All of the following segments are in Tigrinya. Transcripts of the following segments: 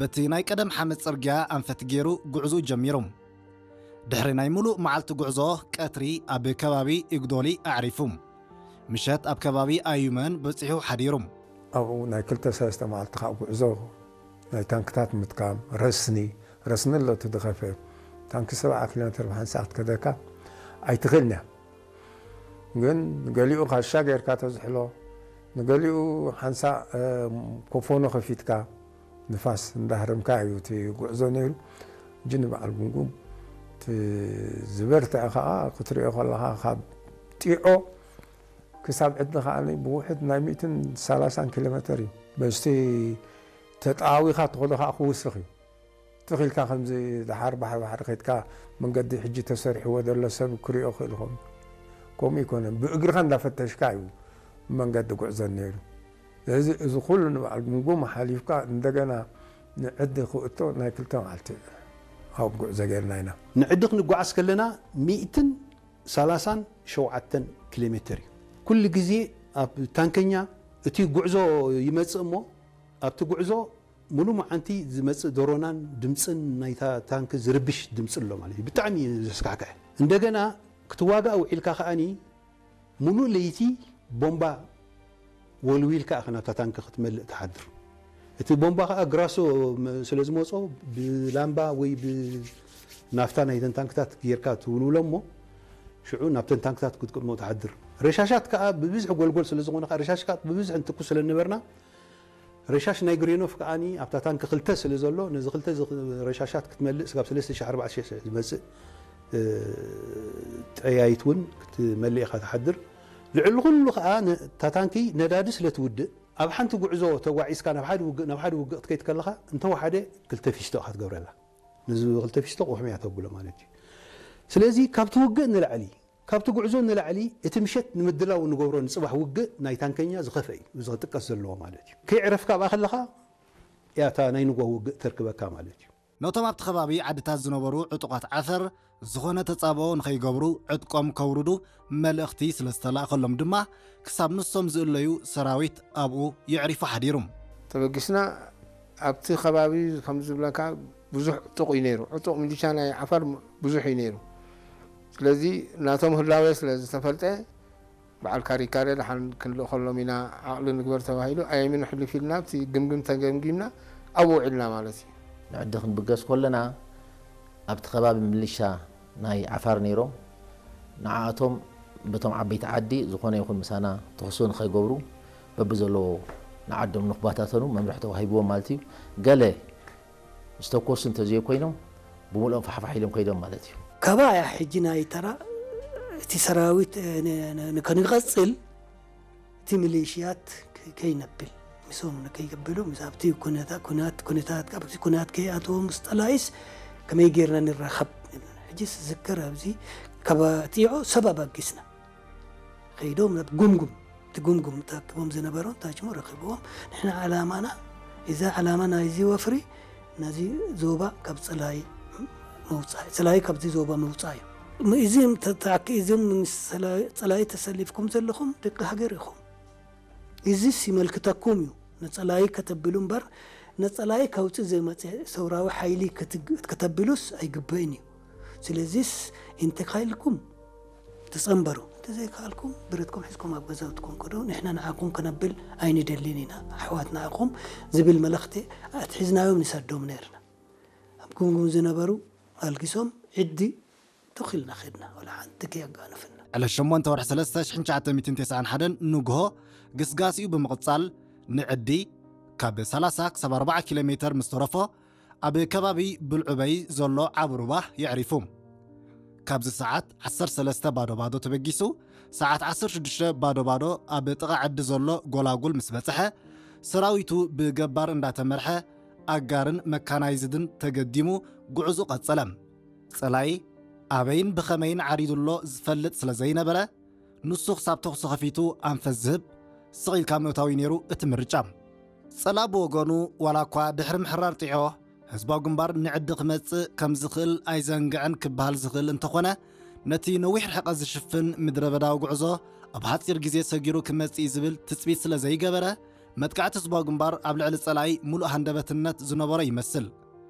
በቲ ናይ ቀደም ሓመድ ጽርግያ ኣንፈት ገይሩ ጉዕዞኡ ጀሚሩ። ድሕሪ ናይ ምሉእ መዓልቲ ጉዕዞ፣ ቀትሪ ኣብ ከባቢ ኢግዶሊ ኣዕሪፉ። ምሸት ኣብ ከባቢ ኣዩመን በጺሑ ሓዲሩ። ኣብኡ ናይ ክልተ ሰለስተ መዓልቲ ከዓ ጉዕዞ፣ ናይ ታንክታት ምጥቃም፣ ረስኒ፣ ረስኒ ኣሎ እቲ ዝኸፈ። ታንኪ ሰብዓ ኪሎ ሜትር ብሓንሳእ ክትከደካ ኣይትኽእልን እያ። ግን ንገሊኡ ካሻ ጌርካ ተዝሕሎ፣ ንገሊኡ ሓንሳእ፣ እ፣ ኮፎኖ ከፊትካ፣ ንፋስ እንዳህረምካ እዩ እቲ ጉዕዞ ነይሩ። እጂ ንበዓል ጉምጉም እቲ ዝበርትዐ ከዓ ክትሪኦ ከለኻ፣ ካብ ጢዖ ክሳብ ዕዲ ከዓ ብውሕድ ናይ ሚእትን ሰላሳን ኪሎ ሜትር እዩ። በስቲ ተጣዊኻ ትኸዶ ከዓ ክውስኽ እዩ። ትኽ ኢልካ ከምዚ ደሓር ባሕሪ ባሕሪ ከድካ፣ መንገዲ ሕጂ ተሰሪሕዎ ዘሎ ሰብ ክሪኦ ክእል ይኸውን። ከምኡ ይኮነን፣ ብእግርኻ እንዳፈተሽካ እዩ መንገዲ ጉዕዞ ነይሩ። ስለዚ እዚ ኩሉ ንበዓል ጉምጉም ሓሊፍካ እንደገና ንዕዲ ክእቶ ናይ ክልተ መዓልቲ ኣብ ጉዕዞ ጌርና ኢና። ንዕዲ ክንጓዓዝ ከለና ሚእትን ሰላሳን ሸውዓተን ኪሎ ሜትር እዩ። ኩሉ ግዜ ኣብ ታንከኛ እቲ ጉዕዞ ይመጽእ እሞ፣ ኣብቲ ጉዕዞ ሙሉ መዓንቲ ዝመጽእ ዶሮናን ድምጽን ናይታ ታንክ ዝርብሽ ድምጺ ኣሎ ማለት እዩ። ብጣዕሚ እዩ ዘስካሕክሕ። እንደገና ክትዋጋእ ውዒልካ ከኣኒ ሙሉ ለይቲ ቦምባ ወልዊልካ ኢኻ ናብታ ታንክ ክትመልእ ትሓድር። እቲ ቦምባ ከኣ ግራሶ መ-፣ ስለ ዝመጾ ብላምባ ወይ ብናፍታ ናይተን ታንክታት ጌርካ ትውልውሎ እሞ ሽዑ ናብተን ታንክታት ክትቅድሞ ትሓድር። ረሻሻት ከኣ ብብዝሒ ጎልጎል ስለ ዝኾነ ከኣ ረሻሽ ከኣ ብብዝሒ እንትኩስ ስለ ነበርና ረሻሽ ናይ ግሬኖፍ ከኣኒ ኣብታ ታንክ ክልተ ስለ ዘሎ ነዚ ክልተ ዝ-፣ ረሻሻት ክትመልእ ስጋብ ሰለስተ ሺሕ ኣርባዕተ ሺሕ ዝመጽእ፣ እ፣ ጠያይት እውን ክትመልእ ኢኻ ትሓድር። ልዕሊ ኩሉ ከኣ ነ-፣ እታ ታንኪ ነዳዲ ስለ ትውድእ ኣብ ሓንቲ ጉዕዞ ተጓዒዝካ ናብ ሓደ ውግእ፣ ናብ ሓደ ውግእ ክትከይድ ከለኻ እንተወሓደ ክልተ ፊስቶ ኢኻ ትገብረላ። ነዚ ክልተ ፊስቶ ቁሕሚ እያ ተብሎ ማለት እዩ። ስለዚ ካብቲ ውግእ ንላዕሊ፣ ካብቲ ጉዕዞ ንላዕሊ እቲ ምሸት ንምድላው እንገብሮ ንጽባሕ ውግእ ናይ ታንከኛ ዝኸፍአ እዩ፣ እዚ ክጥቀስ ዘለዎ ማለት እዩ። ከይዕረፍካ ኣብኣ ከለኻ እያ እታ ናይ ንግሆ ውግእ ተርክበካ ማለት እዩ። ነቶም ኣብቲ ከባቢ ዓድታት ዝነበሩ ዕጡቓት ዓፈር ዝኾነ ተጻብኦ ንኸይገብሩ ዕጥቆም ከውርዱ መልእኽቲ ስለ ዝተላእከሎም ድማ ክሳብ ንሶም ዝእለዩ ሰራዊት ኣብኡ የዕሪፉ ሓዲሩ። ተበጊስና ኣብቲ ከባቢ ከም ዝብለካ ብዙሕ ዕጡቕ እዩ ነይሩ። ዕጡቕ ሚሊሻ ናይ ዓፋር ብዙሕ እዩ ነይሩ። ስለዚ ናቶም ህላዌ ስለ ዝተፈልጠ በዓል ካሪካሬ ደሓን ክንልእኸሎም ኢና ዓቕሊ ንግበር ተባሂሉ ኣየሚን ሕልፍ ኢልና ኣብቲ ግምግም ተገምጊምና ኣብኡ ውዒልና ማለት እዩ። ንዕዲ ክንብገስ ከለና ኣብቲ ከባቢ ምልሻ ናይ ዓፋር ነይሮም። ንዓኣቶም በቶም ዓበይቲ ዓዲ ዝኾነ ይኹን ምሳና ተኽሶ ንኸይገብሩ በብዘለዎ ንዓዶም ንክባታተኑ መምርሒ ተዋሂብዎም ማለት እዩ። ገለ ዝተኮሱ እንተዘይኮይኖም ብምልኦም ፋሕፋሕ ኢሎም ከይዶም ማለት እዩ። ካባያ ሕጂ ናይ ተራ እቲ ሰራዊት፣ እ፣ ን-፣ ን-፣ ንከንቀጽል እቲ ሚሊሽያት ከ-፣ ከይነብል፣ ምስኦም ንከይገበሉ፣ ምስ ኣብቲ ኩነታ-፣ ኩናት፣ ኩነታት፣ ኣብቲ ኩናት ከይኣትዎ ምስ ጠላይስ ከመይ ጌርና ንራኸብ? ሕጂስ ዝዝከር ኣብዚ ካብ ጢዖ ሰብ ኣባጊስና። ከይዶም ናብ ጉምጉም፣ እቲ ጉምጉም ተኣኪቦም ዝነበሩ ታችሞ ረኺብዎም። ንሕና ዓላማና፣ እዚ ዓላማ ናይዚ ወፍሪ፣ ነዚ ዞባ ካብ ጸላኢ ምውጻእ፣ ጸላኢ ካብዚ ዞባ ምውጻእ እዩ። ም-፣ እዚም ተታኪ-፣ እዚም ምስ ጸላኢ፣ ጸላኢ ተሰሊፍኩም ዘለኹም ደቂ ሃገር ኢኹም። እዚስ ይመልክተኩም እዩ። ንጸላኢ ከተብሉ እምበር፣ ንጸላኢ ከውጽእ ዘይመጸ ሰውራዊ ሓይሊ ክትግ-፣ ከተብሉስ ኣይግበእን እዩ። ስለዚስ እንተኻኢልኩም ተጸንበሩ፣ እንተዘይከኣልኩም ብረትኩም ሒዝኩም ኣብ ገዛውትኩም ቅዱ፣ ንሕና ንዓኹም ከነብል ኣይንደልን ኢና፣ ኣሕዋት ንዓኹም ዝብል መልእኽቲ ኣትሒዝናዮም ንሰዶም ነይርና። ኣብ ጉምጉም ዝነበሩ ኣልጊሶም ዕዲ ትኽ ኢልና ኸድና፣ ወላ ሓንቲ ከየጋነፈና። ዕለት ሸሞንተ ወርሒ ሰለስተ ሽሕን ትሽዓተ ሚእትን ተስዓን ሓደን ንግሆ ግስጋሴኡ ብምቕጻል ንዕዲ ካብ ሰላሳ ክሳብ ኣርባዓ ኪሎ ሜተር ምስ ተረፎ ኣብ ከባቢ ብልዑበይ ዘሎ ዓቢ ሩባ የዕሪፉ። ካብዚ ሰዓት ዓሰርተ ሰለስተ ባዶ ባዶ ተበጊሱ ሰዓት ዓሰርተ ሽዱሽተ ባዶ ባዶ ኣብ ጥቓ ዕዲ ዘሎ ጎላጉል ምስ በጽሐ ሰራዊቱ ብገባር እንዳተመርሐ ኣጋርን መካናይዝድን ተገዲሙ ጉዕዙ ቀጸለ። ጸላኢ ኣበይን ብኸመይን ዓሪዱ ኣሎ ዝፈልጥ ስለ ዘይነበረ፣ ንሱ ክሳብ ተኹሲ ከፊቱ ኣንፈት ዝህብ ስቕ ኢልካ ምእታው እዩ ነይሩ እቲ ምርጫ። ጸላኢ ብወገኑ፣ ዋላ እኳ ድሕሪ ምሕራር ጢዖ ህዝባዊ ግንባር ንዕዲ ክመጽእ ከም ዝኽእል ኣይዘንግዕን ክበሃል ዝኽእል እንተኾነ፣ ነቲ ነዊሕ ርሕቀት ዝሽፍን ምድረ በዳዊ ጉዕዞ ኣብ ሓጺር ግዜ ሰጊሩ ክመጽእ እዩ ዝብል ትጽቢት ስለ ዘይገበረ፣ መጥቃዕቲ ህዝባዊ ግንባር ኣብ ልዕሊ ጸላኢ ምሉእ ሃንደበትነት ዝነበሮ ይመስል።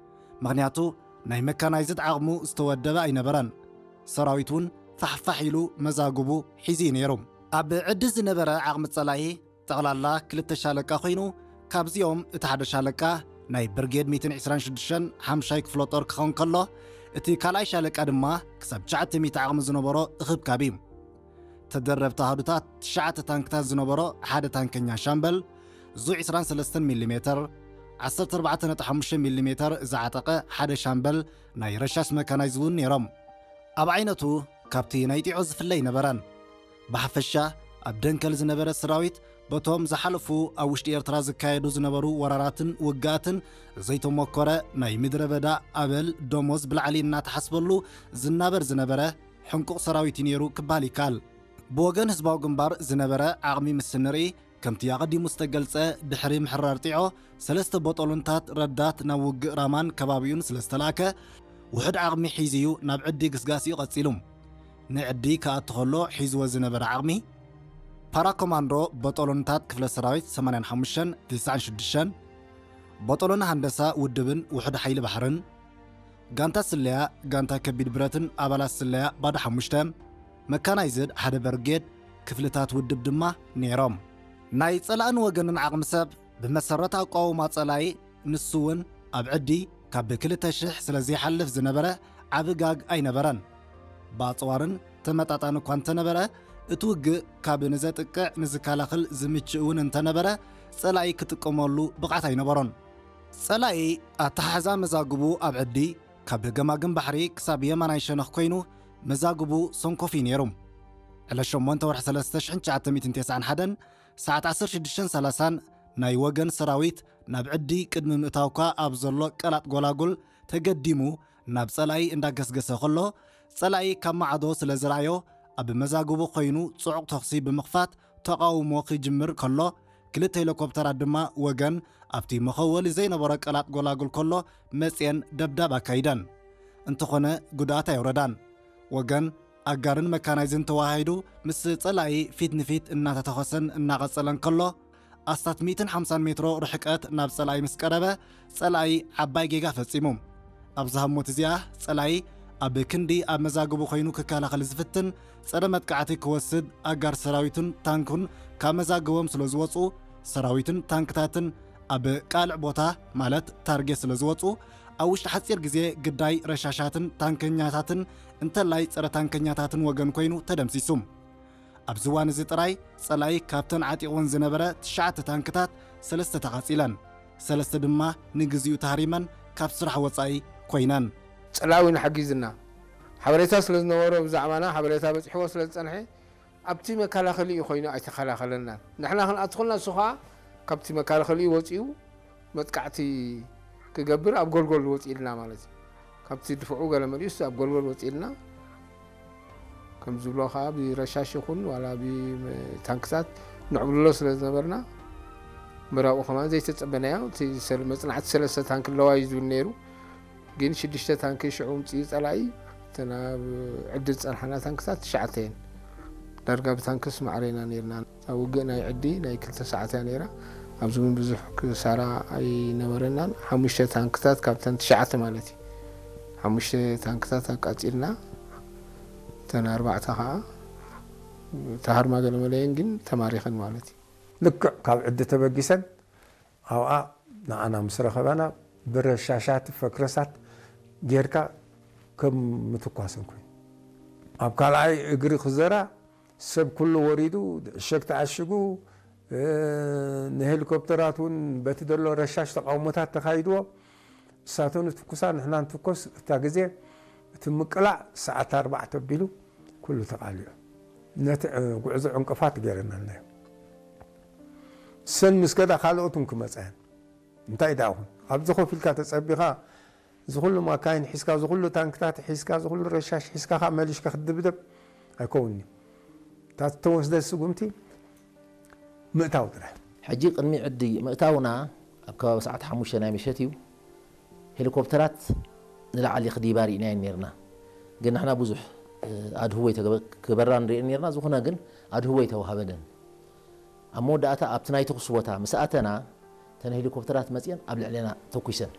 ምኽንያቱ ናይ መካናይዝድ ዓቕሙ ዝተወደበ ኣይነበረን። ሰራዊት እውን ፋሕፋሕ ኢሉ መዛግቡ ሒዙ እዩ ነይሩ። ኣብ ዕዲ ዝነበረ ዓቕሚ ጸላኢ ጠቕላላ ክልተ ሻለቃ ኮይኑ፣ ካብዚኦም እቲ ሓደ ሻለቃ ናይ ብርጌድ ሚእትን ዕስራን ሽዱሽተን ሓምሻይ ክፍለ ጦር ክኸውን ከሎ፣ እቲ ካልኣይ ሻለቃ ድማ ክሳብ ትሽዓተ ሚእቲ ዓቕሚ ዝነበሮ እኽብካብ እዩ። ተደረብቲ ኣሃዱታት ትሽዓተ ታንክታት ዝነበሮ ሓደ ታንከኛ ሻምበል፣ ዙ ዕስራን ሰለስተን ሚሊ ሜተር፣ ዓሰርተ ኣርባዕተ ነጥቢ ሓሙሽተ ሚሊ ሜተር ዝዓጠቐ ሓደ ሻምበል ናይ ረሻሽ መካናይዝ እውን ነይሮም። ኣብ ዓይነቱ ካብቲ ናይ ጢዖ ዝፍለ ኣይነበረን። ብሓፈሻ ኣብ ደንከል ዝነበረ ሰራዊት በቶም ዝሓለፉ ኣብ ውሽጢ ኤርትራ ዝካየዱ ዝነበሩ ወራራትን ውግኣትን ዘይተሞከረ ናይ ምድረ በዳ ኣበል ደሞዝ ብላዕሊ እናተሓስበሉ ዝናበር ዝነበረ ሕንቁቕ ሰራዊት እዩ ነይሩ ክበሃል ይከኣል። ብወገን ህዝባዊ ግንባር ዝነበረ ዓቕሚ ምስ እንርኢ፣ ከምቲ ኣቐዲሙ ዝተገልጸ፣ ድሕሪ ምሕራር ጢዖ ሰለስተ ቦጦሎንታት ረዳት ናብ ውግእ ራማን ከባቢኡን ስለ ዝተላእከ፣ ውሑድ ዓቕሚ ሒዙ እዩ ናብ ዕዲ ግስጋሴኡ ቀጺሉ። ንዕዲ ክኣቱ ከሎ ሒዝዎ ዝነበረ ዓቕሚ፣ ፓራኮማንዶ ቦጦሎንታት ክፍለ ሰራዊት ሰማንያን ሓሙሽተን ትስዓን ሽዱሽተን፣ ቦጦሎን ሃንደሳ ውድብን ውሑድ ሓይሊ ባሕርን፣ ጋንታ ስለያ፣ ጋንታ ከቢድ ብረትን ኣባላት ስለያ ባዶ ሓሙሽተ፣ መካናይዝድ ሓደ በርጌድ፣ ክፍልታት ውድብ ድማ ነይሮም። ናይ ጸላእን ወገንን ዓቕሚ ሰብ ብመሰረት ኣቋውማ ጸላኢ፣ ንሱ እውን ኣብ ዕዲ ካብ ክልተ ሽሕ ስለ ዘይሓልፍ ዝነበረ ዓቢ ጋግ ኣይነበረን። ብኣጽዋርን ተመጣጣኒ እኳ እንተነበረ፣ እቲ ውግእ ካብ ንዘጥቅዕ ንዝከላኸል ዝምችእ እውን እንተነበረ፣ ጸላኢ ክጥቀመሉ ብቕዓት ኣይነበሮን። ጸላኢ ኣተሓሕዛ መዛግቡ ኣብ ዕዲ ካብ ገማግም ባሕሪ ክሳብ የማናይ ሸነኽ ኮይኑ፣ መዛግቡ ሰንኮፍ እዩ ነይሩ። ዕለት ሸሞንተ ወርሒ ሰለስተ ሽሕን ትሽዓተ ሚእትን ተስዓን ሓደን ሰዓት ዓሰርተ ሽዱሽተን ሰላሳን ናይ ወገን ሰራዊት ናብ ዕዲ ቅድሚ ምእታውካ ኣብ ዘሎ ቀላጥ ጎላጉል ተገዲሙ ናብ ጸላኢ እንዳገስገሰ ከሎ፣ ጸላኢ ካብ ማዕዶ ስለ ዝረኣዮ፣ ኣብ መዛግቡ ኮይኑ ጽዑቕ ተኹሲ ብምኽፋት ተቓውሞ ክጅምር ከሎ፣ ክልተ ሄሊኮፕተራት ድማ ወገን ኣብቲ መኸወሊ ዘይነበሮ ቀላጥ ጎላጉል ከሎ መጽየን ደብዳብ ኣካይደን። እንተኾነ ጉድኣት ኣየውረዳን። ወገን ኣጋርን መካናይዝን ተዋሃሂዱ ምስ ጸላኢ ፊት ንፊት እናተተኾሰን እናቐጸለን ከሎ፣ ኣስታት ሚእትን ሓምሳን ሜትሮ ርሕቀት ናብ ጸላኢ ምስ ቀረበ፣ ጸላኢ ዓባይ ጌጋ ፈጺሙ። ኣብዛ ህሞት እዚኣ ጸላኢ ኣብ ክንዲ ኣብ መዛግቡ ኮይኑ ክከላኸል ዝፍትን፣ ጸረ መጥቃዕቲ ክወስድ ኣጋር ሰራዊትን ታንክን ካብ መዛግቦም ስለ ዝወጹ፣ ሰራዊትን ታንክታትን ኣብ ቃልዕ ቦታ ማለት ታርጌት ስለ ዝወጹ፣ ኣብ ውሽጢ ሓጺር ግዜ ግዳይ ረሻሻትን ታንከኛታትን እንተላይ ጸረ ታንከኛታትን ወገን ኮይኑ ተደምሲሱ። ኣብዚ እዋን እዚ ጥራይ ጸላኢ ካብተን ዓጢቕወን ዝነበረ ትሽዓተ ታንክታት ሰለስተ ተቓጺለን፣ ሰለስተ ድማ ንግዚኡ ተሃሪመን ካብ ስራሕ ወጻኢ ኮይነን። ጸላኢ እውን ሓጊዝና። ሓበሬታ ስለ ዝነበሮ ብዛዕባና ሓበሬታ በጺሕዎ ስለ ዝጸንሐ፣ ኣብቲ መከላኸሊኡ ኮይኑ ኣይተኸላኸለናን። ንሕና ክንኣቱ ከለና ንሱ ኸኣ ካብቲ መከላኸሊኡ ወጺኡ መጥቃዕቲ ክገብር ኣብ ጎልጎል ወጺእልና ማለት እዩ። ካብቲ ድፍዑ ገለ መሊኡስ ኣብ ጎልጎል ወጺእልና። ከም ዝብሎ ኸኣ ብረሻሽ ይኹን ዋላ ብታንክታት ንዕብልሎ ስለ ዝነበርና፣ ምራቑ ከማን ዘይተጸበናዮ፣ እቲ ሰል-፣ መጽናዕቲ ሰለስተ ታንክ ኣለዋ እዩ ዝብል ነይሩ። ግን ሽዱሽተ ታንኪ ሽዑ ምጽኡ ጸላኢ፣ እተን ኣብ ዕዲ ዝጸንሓና ታንክታት ትሽዓተ እየን። ዳርጋ ብታንክስ ማዕረ ኢና ነይርና። ኣብ ውግእ ናይ ዕዲ ናይ ክልተ ሰዓት እያ ነይራ። ኣብዚ እውን ብዙሕ ክሳራ ኣይነበረናን። ሓሙሽተ ታንክታት ካብተን ትሽዓተ ማለት እዩ። ሓሙሽተ ታንክታት ኣቃጺልና፣ እተን ኣርባዕተ ኸዓ ተሃርማ ገለመለየን ግን ተማሪኸን ማለት እዩ። ልክዕ ካብ ዕዲ ተበጊሰን ኣብኣ ንዓና ምስ ረኸባና፣ ብረሻሻት ፈክረሳት ጌርካ ከም ምትኳስን ኮይኑ፣ ኣብ ካልኣይ እግሪ ክዘራ ሰብ ኩሉ ወሪዱ፣ ዕሸግ ተዓሽጉ፣ እ፣ ንሄሊኮፕተራት እውን በቲ ዘሎ ረሻሽ ተቃውሞታት ተኻይድዎ። እሳቶም ንትኩሳ፣ ንሕና ንትኮስ። እታ ግዜ እቲ ምቅላዕ ሰዓት ኣርባዕተ ኣቢሉ ኩሉ ተቃሊዑ። ነቲ፣ እ፣ ጉዕዞ ዕንቅፋት ገይረናልና እዩ። ሰን ምስ ከዳ ካልኦት እውን ክመጻ እየን። እንታይ ደኣ ኹን፣ ኣብዚ ኮፍ ኢልካ ተጸቢኻ፣ እዚ ኩሉ ማካይን ሒዝካ፣ እዚ ኩሉ ታንክታት ሒዝካ፣ እዚ ኩሉ ረሻሽ ሒዝካ ከኣ መሊሽካ ክትድብደብ ኣይከውን'ዩ። እታ እተወስደት ስጉምቲ ምእታው ጥራሕ። ሕጂ ቅድሚ ዕዲ ምእታውና ኣብ ከባቢ ሰዓት ሓሙሽተ ናይ ምሸት እዩ። ሄሊኮፕተራት ንላዕሊ ክዲባ ርኢናየን ነይርና። ግን ንሕና ብዙሕ፣ እ፣ ኣድህቦ ኣይተገበ-፣ ክገበራ ንርእየን ነይርና። ዝኾነ ግን ኣድህቦ ኣይተዋሃበንን። ኣብ መወዳእታ ኣብቲ ናይ ተኹሲ ቦታ ምስ ኣተና፣ እተን ሄሊኮፕተራት መጺአን ኣብ ልዕሌና ተኩሰን።